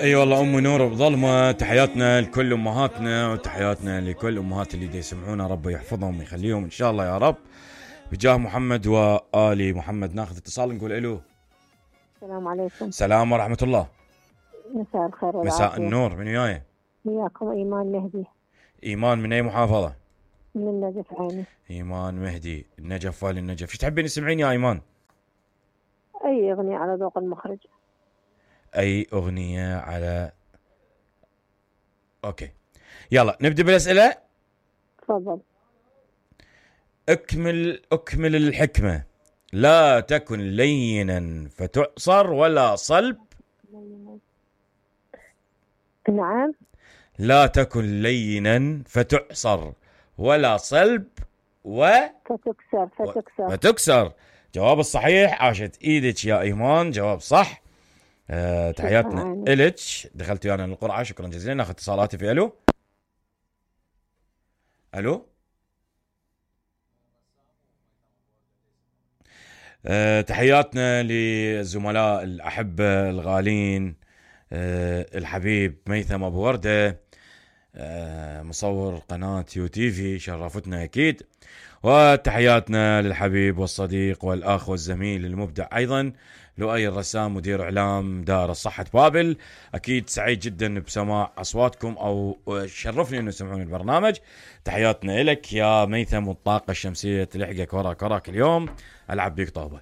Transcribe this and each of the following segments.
اي والله ام نور بظلمه. تحياتنا لكل امهاتنا وتحياتنا لكل امهات اللي يسمعونا، رب يحفظهم ويخليهم ان شاء الله يا رب بجاه محمد وآل محمد. ناخذ اتصال نقول الو. السلام عليكم. السلام ورحمه الله. مساء الخير والعافية. مساء النور. من وياي؟ وياكم ايمان مهدي. ايمان من اي محافظه؟ من النجف عيني. ايمان مهدي النجف والي النجف. ايش تحبين تسمعين يا ايمان؟ اي اغنية على ذوق المخرج. اي اغنيه على اوكي يلا نبدا بالاسئله. تفضل. اكمل الحكمه. لا تكن لينا فتعصر ولا صلب. نعم. لا تكن لينا فتعصر ولا صلب فتكسر. جواب الصحيح. عاشت ايدك يا ايمان، جواب صح. تحياتنا إلك، دخلت ويانا للقرعه، شكرا جزيلا. ناخذ اتصالاتي في الو. تحياتنا للزملاء الأحبة الغالين، الحبيب ميثم أبو وردة، مصور قناة يو تي في، شرفتنا أكيد. وتحياتنا للحبيب والصديق والأخ والزميل المبدع أيضا لؤي الرسام، مدير إعلام دائرة صحة بابل. أكيد سعيد جدا بسماع أصواتكم، أو شرفني أنه تسمعون البرنامج. تحياتنا لك يا ميثم، والطاقة الشمسية تلحقك وراك اليوم. ألعب بيك طوبة.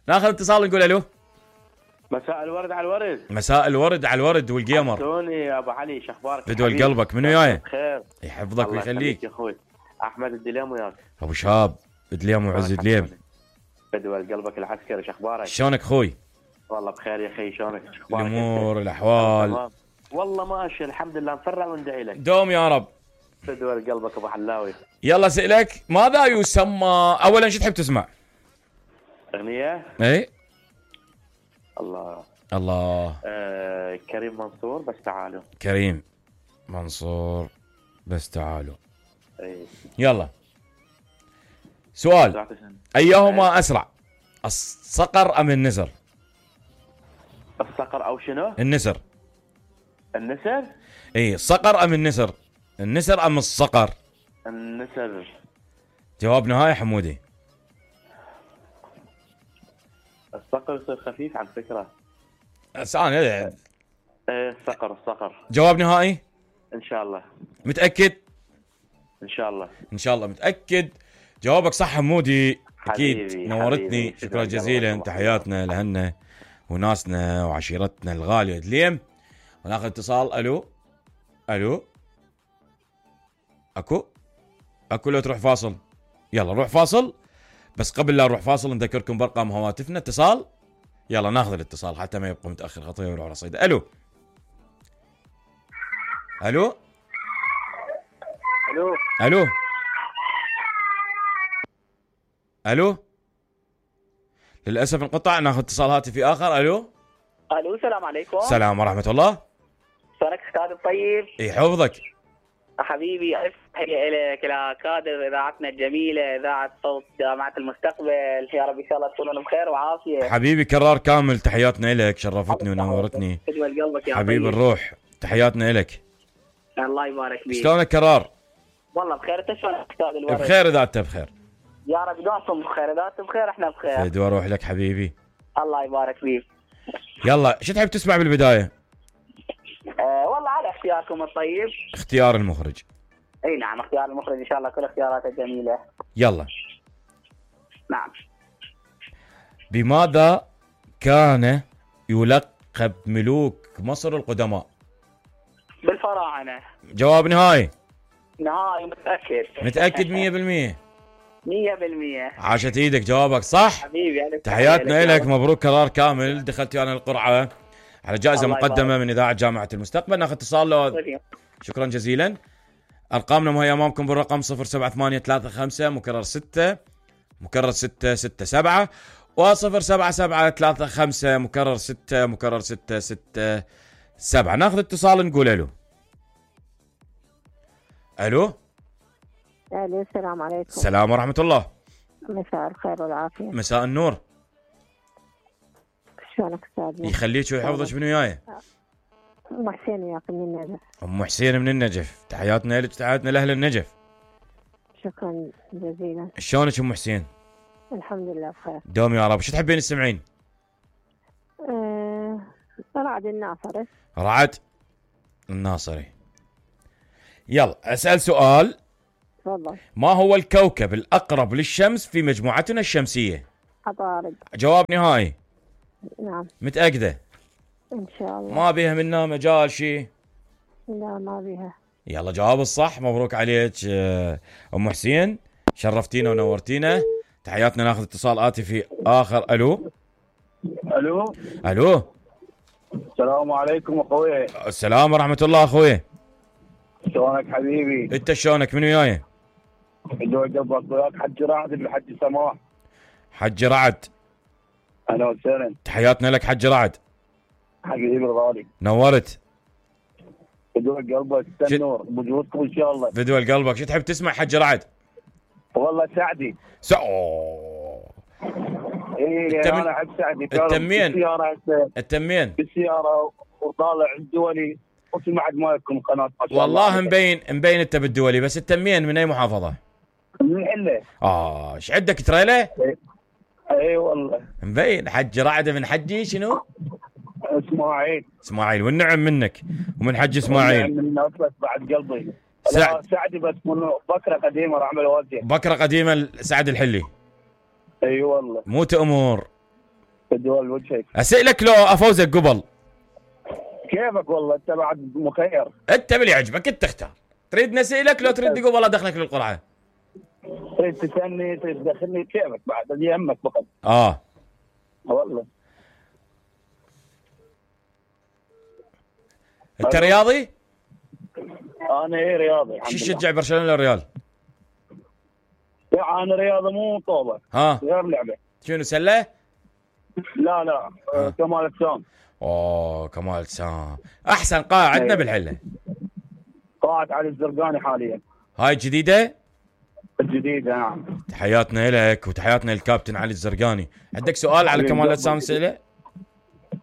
ناخذ اتصال نقول ألو. مساء الورد على الورد. مساء الورد على الورد والقمر. شلوني يا ابو علي، شخبارك؟ بدول قلبك. من وياي؟ بخير. يحفظك ويخليك يا اخوي. احمد الدليم وياك. ابو شهاب الدليم وعز الدليم. بدول قلبك العسكري، شخبارك؟ شلونك اخوي؟ والله بخير يا اخي، شلونك؟ الامور الاحوال والله ماشي الحمد لله، نفرع وندعي لك دوم يا رب. بدول قلبك ابو حلاوي. يلا سألك، ماذا يسمى اولا؟ شو تحب تسمع؟ اغنيه؟ اي الله كريم منصور بس تعالوا. كريم منصور بس تعالوا. اي يلا سؤال. ايهما اسرع، الصقر ام النسر؟ الصقر او شنو؟ النسر. النسر؟ اي الصقر ام النسر؟ النسر ام الصقر؟ النسر. جواب نهائي حمودي. الصقر يصير خفيف على فكرة. انا الصقر. جواب نهائي؟ ان شاء الله. متأكد؟ ان شاء الله متأكد. جوابك صح حمودي، اكيد. حبيبي نورتني حبيبي. شكرا جزيلا. تحياتنا لهنا وناسنا وعشيرتنا الغالية دليم. وناخذ اتصال. الو. اكو لو تروح فاصل. يلا روح فاصل، بس قبل لا نروح فاصل نذكركم بارقام هواتفنا. اتصال، يلا ناخذ الاتصال حتى ما يبقى متاخر خطيه ويروح على صيده. الو. للاسف انقطع. ناخذ اتصال هاتفي اخر. الو. السلام عليكم. السلام ورحمه الله. شلونك استاذ الطيب؟ يحفظك حبيبي. تحيه لك الى كادر اذاعتنا الجميله، اذاعه صوت جامعه المستقبل. يا رب ان شاء الله تكونون بخير وعافيه. حبيبي كرار كامل، تحياتنا لك، شرفتني ونورتني حبيب الروح. تحياتنا لك. الله يبارك فيك. شلونك كرار؟ والله بخير. انت شلونك استاذ الورد؟ بخير اذا انت بخير. يا رب دوامكم بخير. اذا انتم بخير احنا بخير. فدوى اروح لك حبيبي. الله يبارك فيك. يلا شو تحب تسمع بالبدايه؟ والله على اختياركم الطيب. اختيار المخرج. اي نعم، اختيار المخرج ان شاء الله كل اختياراته جميله. يلا. نعم. بماذا كان يلقب ملوك مصر القدماء؟ بالفراعنه. جواب نهائي متاكد 100%. 100%. عاشت ايدك، جوابك صح حبيبي. تحياتنا لك، مبروك قرار كامل. دخلت انا القرعه على جائزه مقدمه من اذاعه جامعه المستقبل. ناخذ اتصال. شكرا جزيلا. ارقامنا وهي امامكم بالرقم 07835 مكرر 6 مكرر 667 و07735 مكرر 6 مكرر 667. ناخذ اتصال نقول الو. السلام عليكم. السلام ورحمه الله. مساء الخير والعافيه. مساء النور. شلونك استاذ؟ يخليك ويحفظك. من وياي؟ ام حسين وياك من النجف. ام حسين من النجف، تحياتنا لك وتحياتنا لاهل النجف. شكرا جزيلا. شلونك ام حسين؟ الحمد لله بخير. دوم يا رب. شو تحبين تسمعين؟ رعد الناصري. رعد الناصري. يلا اسال سؤال. تفضل. ما هو الكوكب الاقرب للشمس في مجموعتنا الشمسيه؟ عطارد. جواب نهائي؟ نعم متاكده؟ ان شاء الله. ما بيها منا مجال شيء؟ لا ما بيها. يلا جواب الصح. مبروك عليك ام حسين، شرفتينا ونورتينا. تحياتنا. ناخذ اتصال آتي في اخر. الو الو الو. السلام عليكم اخوي. السلام ورحمه الله اخوي. شلونك حبيبي؟ انت شلونك؟ من وياي؟ دوي قبلك وياك حج رعد الحج سماح. حج رعد. اهلا وسهلا تحياتنا لك حج رعد. حبيبي الغالي. نورت. دوي قلبك النور بوجودكم ان شاء الله. فدوى قلبك. شو تحب تسمع حج رعد؟ والله سعدي. ايه انا احب سعدي. التمين. التمين. بالسياره وطالع الدولي وسمعت ما يكون قناه. والله مبين انت بالدولي، بس التمين من اي محافظه؟ من الحله. ايش عندك تريله؟ اي والله مبين. حج رعد من حجي شنو؟ اسماعيل. والنعم منك ومن حج اسماعيل. من نفسك بعد قلبي. سعدي بس من بكره قديمه راح اعمل وجه. بكره قديمه سعد الحلي. اي والله. مو تأمر. بدول وجهك. اسالك لو افوزك قبل. كيفك والله انت بعد مخير. انت باللي يعجبك انت اختار. تريد نسالك لو تريد قبل ادخلك للقرعه؟ تريد تسالني تريد تدخلني كيفك بعد اللي يهمك فقط. والله. انت رياضي؟ انا رياضي. شو تشجع برشلونه ولا الريال؟ يعني رياضه مو طوبه. غير لعبه. شنو سله؟ لا كمال اجسام. كمال اجسام. احسن قاعه عندنا بالحله. قاعه علي الزرقاني حاليا. هاي الجديده؟ الجديده نعم. تحياتنا لك وتحياتنا للكابتن علي الزرقاني. عندك سؤال على كمال الاجسام سئله؟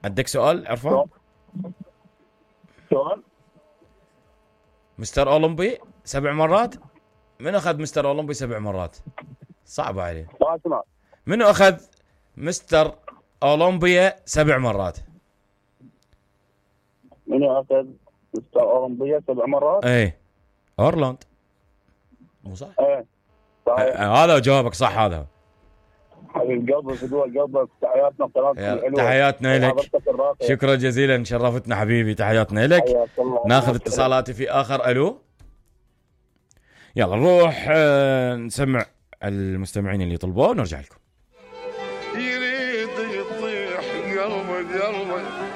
عندك سؤال عرفان؟ سؤال؟ مستر اولمبي 7 مرات؟ من اخذ مستر اولمبي 7 مرات؟ صعبه عليه. منو اخذ مستر اولمبيا 7 مرات؟ منو اخذ مستر اولمبيا 7 مرات؟ ايه اورلاند. مو صح؟ ايه صحيح. هذا جوابك صح. هذا حبيب قلبي فدوى قلبك. تحياتنا قناتك الحلوه. تحياتنا لك. شكرا جزيلا شرفتنا حبيبي. تحياتنا لك. ناخذ اتصالاتي في اخر. الو. يلا نروح نسمع المستمعين اللي طلبوه ونرجع لكم. يريد يطيح قلبي